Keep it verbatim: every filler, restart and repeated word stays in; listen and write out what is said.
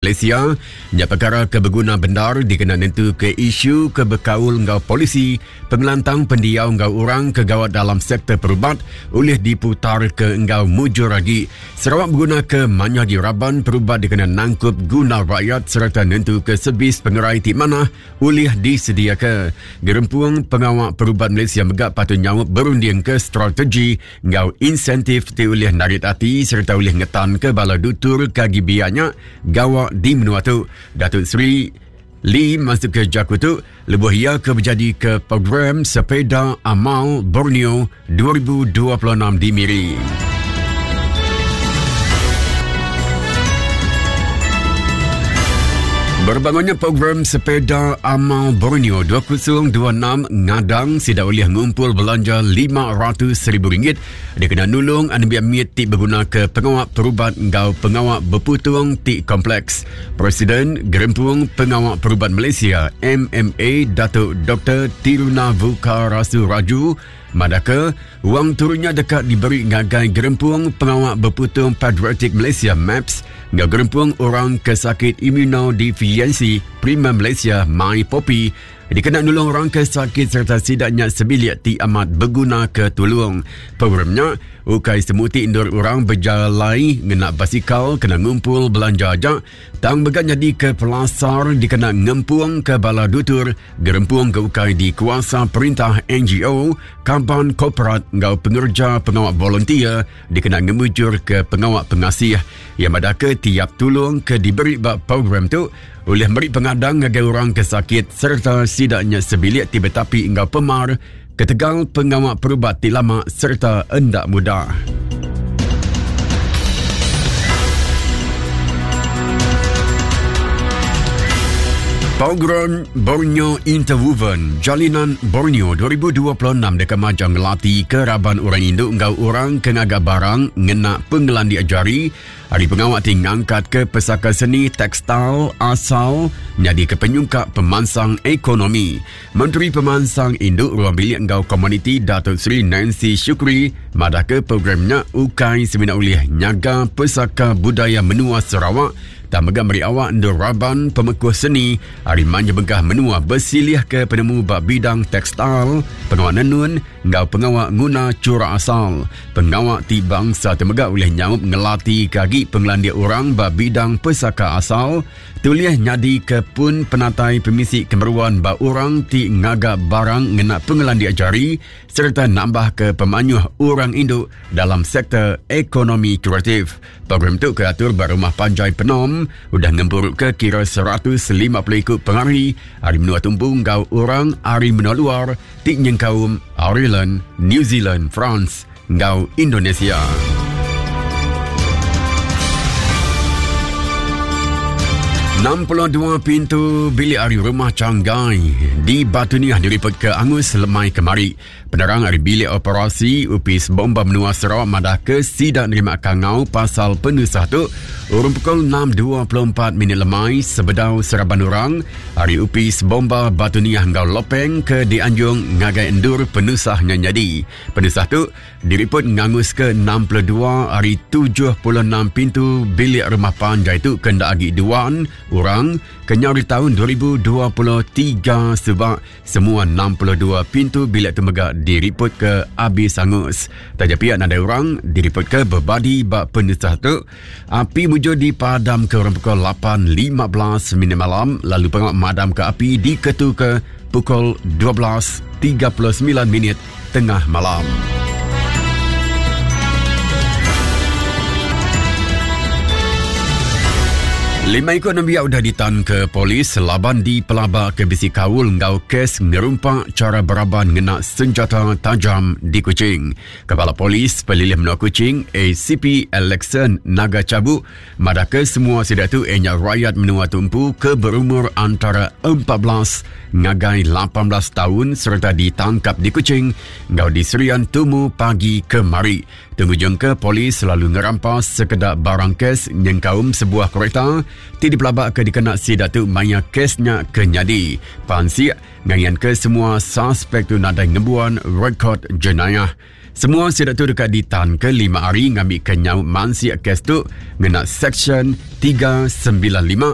Malaysia nya perkara ke berguna bendar dikena nentu ke isu ke bekaul enggau polisi pengelantang pendiau enggau orang ke gawat dalam sektor perubat oleh diputar ke enggau mujur lagi. Sarawak berguna ke manyah di raban perubat dikena nangkup guna rakyat serta nentu ke servis pengerai ti mana oleh disediakan. Gerempung Pengawal Perubat Malaysia megak patut nyawab berunding ke strategi enggau insentif ti oleh narit hati serta oleh ngetan ke bala dutur kagi biaknya gawak di menua tu. Datuk Seri Lee masuk ke jaku tu lebuh ia ke berjadi ke program Sepeda Amal Borneo dua ribu dua puluh enam di Miri. Berbangunnya program Sepeda Amal Borneo dua ribu dua puluh enam ngadang sida oleh ngumpul belanja lima ratus ribu ringgit dikena nulung anak mit ti berguna ke pengawak perubat enggau pengawak berputung ti kompleks. Presiden Gerempung Pengawak Perubat Malaysia M M A Datuk Doktor Tirunavukarasu Raju madaka wang turunnya dekat diberi ngagai Gerempung Pengawak Berputung Patriotik Malaysia M A P S enggau Gerempung Orang Kesakit Imunodefisiensi Prima Malaysia MyPopi dikena nulung orang ke sakit serta sidaknya sebilik ti amat berguna ke tulung. Programnya ukai semuti indur orang berjalai ngena basikal kena ngumpul belanja aja tang begat jadi ke pelasar dikena ngempung ke bala dutur gerempung ke ukai di kuasa perintah N G O kaban korporat enggau pengerja pengawak volunteer dikena ngemujur ke pengawak pengasih. Yang madaka tiap tulung ke diberi bak program tu oleh meri pengadang ngagai orang ke sakit serta sidaknya sebilik ti betapi enggau pemar ketegal pengawak perubat ti lama serta endak mudah. Program Borneo Interwoven Jalinan Borneo dua ribu dua puluh enam dekat majang ngelati ke raban orang induk enggau orang ke ngaga barang ngena pengelandi jari hari pengawak ti ngangkat ke pesaka seni tekstil asal nyadi ke penyungkak pemansang ekonomi. Menteri Pemansang Induk Ruang Bilik enggau Komuniti Datuk Seri Nancy Shukri madah ke programnya ukai semina ulih nyaga pesaka budaya menua Sarawak tak megah meri awak ndur raban pemekuh seni hari manja bengkah menua bersilih ke penemu bak bidang tekstil, pengawak nenun enggau pengawak nguna curak asal. Pengawak ti bangsa temegah oleh nyaup ngelati kagi pengelandik orang bak bidang pesaka asal, tuliah nyadi ke pun penatai pemisi kemeruan bak orang ti ngagak barang ngena pengelandik jari serta nambah ke pemanyuh orang induk dalam sektor ekonomi kreatif. Program tu keatur berumah panjai Penom udah ngempuruk ke kira seratus lima puluh ikut pengari hari menua tumpu enggau orang hari menua luar ti nyengkaum Ireland, New Zealand, France enggau Indonesia. enam puluh dua pintu bilik hari rumah Canggai di Batu Niah diripot ke Angus lemai kemari. Penerang hari bilik operasi Upis Bomba Menua Sarawak madah ke sidak nerima kangau pasal penusah tu urung pukul enam dua puluh empat minit lemai sebedau seraban orang hari Upis Bomba Batu Niah enggau Lopeng ke dianjung ngagai endur penusahnya jadi. Penusah tu diripot ngangus ke enam puluh dua hari tujuh puluh enam pintu bilik rumah panjai tu kendak agi duan orang kenyau di tahun dua ribu dua puluh tiga sebab semua enam puluh dua pintu bilik tu megak diripot ke habis hangus. Taja pihak nadai orang diripot ke berbadi bak penusah tu. Api mujur dipadam ke orang pukul lapan lima belas minit malam lalu pengawak madam ke api diketu ke pukul dua belas tiga puluh sembilan minit tengah malam. Lima ikut nembiak udah ditan ke polis laban di pelaba ke bisi kaul enggau kes ngerumpak cara beraban ngena senjata tajam di Kuching. Kepala Polis Pelilih Menua Kuching A C P Alexan Naga Cabuk madah ke semua sida tu ianya rakyat menua tumpu ke berumur antara empat belas ngagai lapan belas tahun serta ditangkap di Kuching enggau di Serian Tumu pagi kemari. Tengujung ke polis selalu ngerampas sekedak barang kes nyengkaum sebuah kereta ti dipelabak ke dikena sida tu maya kesnya kenyadi. Pansik ngayan ke semua suspek tu nadai ngembuan rekod jenayah. Semua sida tu dekat ditan ke lima hari ngambil ke nyaut mansik kes tu ngena Section tiga sembilan lima.